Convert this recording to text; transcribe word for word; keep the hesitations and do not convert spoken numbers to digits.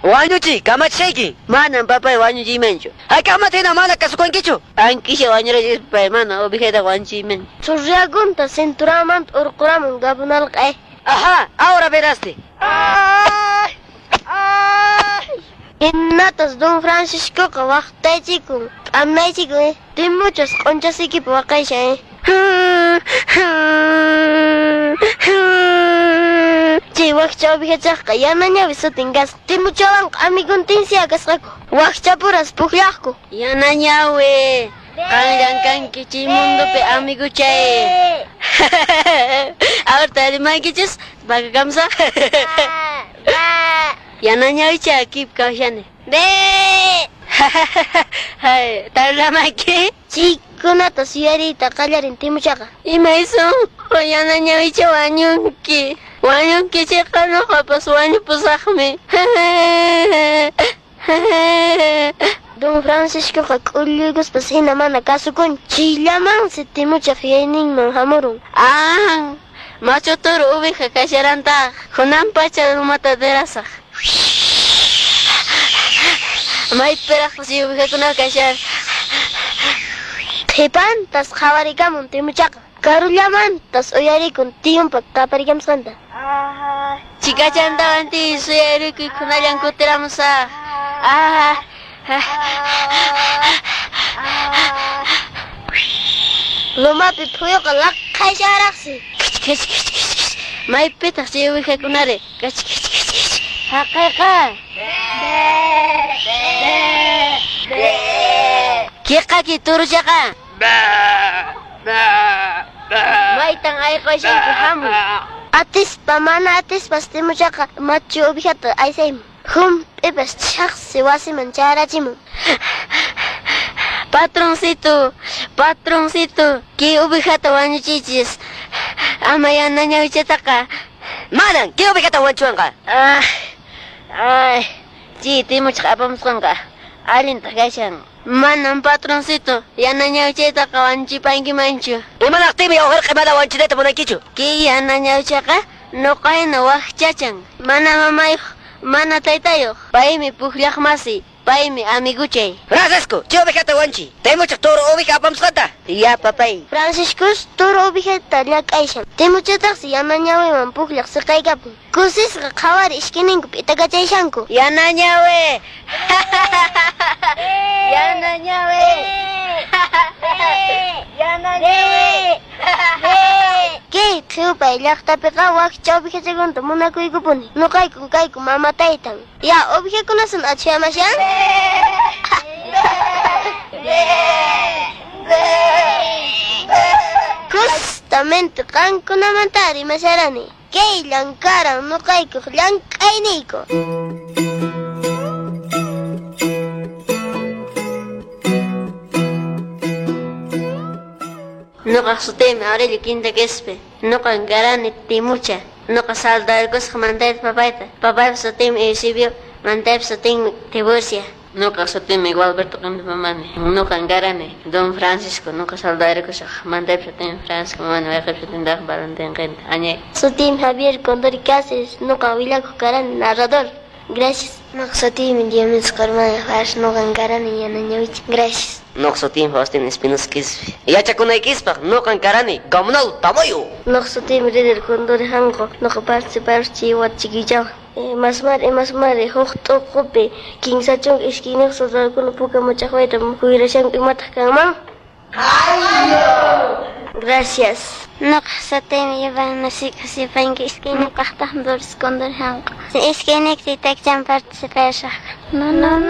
Wañuchi, kamachishayki. Manan papay wañuchiymanchu. Hayk'aqmanta hina mana kasukunkichu. Ankisha wañurachis papay, mana ovejayta wañuchiyman. Churriagunta cinturamanta urquramun gabunalqa. Ajá, ahora veraste. Ay, ay. Hinnatas Don Franciscoqa waqtaychikun, p'amaychikun, eh. Timuchas q'unchasikipi waqayshan, eh. Chay wakcha ovejachaqqa yana ñawi sutin kasqa. Timuchawanqa amiguntinsiya kasqaku. Wakchapuras pukllaqku. Yana ñawi, qanllan kanki chay mundopi amiguchay. Ahorita rimankichis, pakakamsa. Yana ñawicha kip kawshani. Be. Hay, tarlamaki. Chaykunata suyariyta qallarin Timuchaqa. Imaysun, yana ñawicha wañunki. Wañunki chayqa nuqapas wañupusaqmi. Don Franciscoqa k'ulluykuspas hina mana kasukun. Chayllamansi Timuchaq yuyayninman hamurun. Ah, machu toro oveja kasharantaq. Hunan pacha lumata derasaq. Maypiraqpas chay ovejakuna kashar. Qhipantas qhawarikamun Timuchaqa. Karullamantas uyarikun tiyunpa qaparikamusqanta. Chikachantawan tiy suyarikuy kunallan kutiramusaq. Ah. Lumapi phuyuqa laqhaysharaqsi. Kich kich kich kich kich. Maypitaq chay ovejakunari? Kich kich kich kich. Haqayqa. Kiqaki turuchaqa. Maytan ayqashanki hamuy. Atispa mana atispas Timuchaqa machu ovejata aysaymun. Hump'ipas chhaqsi wasiman chayarachimun. Patroncito, patroncito, kay ovejata wañuchichis. Ama yana ñawichataqa. Manan, kay ovejata wañuchiwanqa. Ah, ay, chay Timuchaq apamusqanqa allintaq kashan. Manan patroncito, yana ñawichaytaqa wañuchipankimanchu. Imanaqtinmi yawharqi mana wañuchinayta munankichu? Kay yana ñawichaqa nuqayna wakchachan. Mana mamayuq, mana taytayuq. Paymi pukllaqmasi, paymi amiguchay. Francisco, chay ovejata wañuchi. Timuchaq toro oveja apamusqanta. Ya, papay. Franciscus toro ovejata llak'ayshan. Timuchataqsi yana ñawiman pukllaq siqaykapun. Kusisqa qhawari ishkininku p'itakachayshanku. Yana ñawi. Yana ñawi. Yana ñawi. Kay qhiwpay llaqtapiqa wakcha ovejachakunata munakuykupuni. Nuqayku kayku mama taytan. Ya, ovejakunasan achhamashan. Justamente qankunamanta rimasharani. Kay llankaran nuqaykuq llank'ayniyku. Nuqaq sutiymi Aurelio Quinta Quispe. Nuqan karani Timucha. Nuqa saldarkusaq mantayta papayta. Papaypa sutinmi Eusebio, mantaypa sutinmi Tiburcia. Nuqa sutiymi Gualberto Quinta Mamani. Nuqan karani Don Francisco. Nuqa saldarkusaq mantaypa sutinmi Francisco Mamani, wayqiypa sutinmi Valentín Quinta. Añay. Sutiymi Javier Condori Cáceres. Nuqa willakuq karani narrador. Gracias. Nuqa sutiymi Diomedes Carmona Fares. Nuqan karani yana ñawicha. Gracias. Nuqa sutiymi Faustin Espinosa Quispe. Yachakunaykispaq nuqan karani Gamunal Tamayo. Nuqa sutiymi Rider Condori Hanqo. Nuqa participar chay wata Masmari, masmari, huk t'uqupi kinsa chunka iskayniyuq soldadokuna puka mach'aqwayta kuyrashanku imataq kanman? Gracias. Nuqa sutiymi Iván Masika Sipanki iskayniyuqtaq Doris Condori Hanqo. Iskayniyki taytakchan participashaq. No, no, no.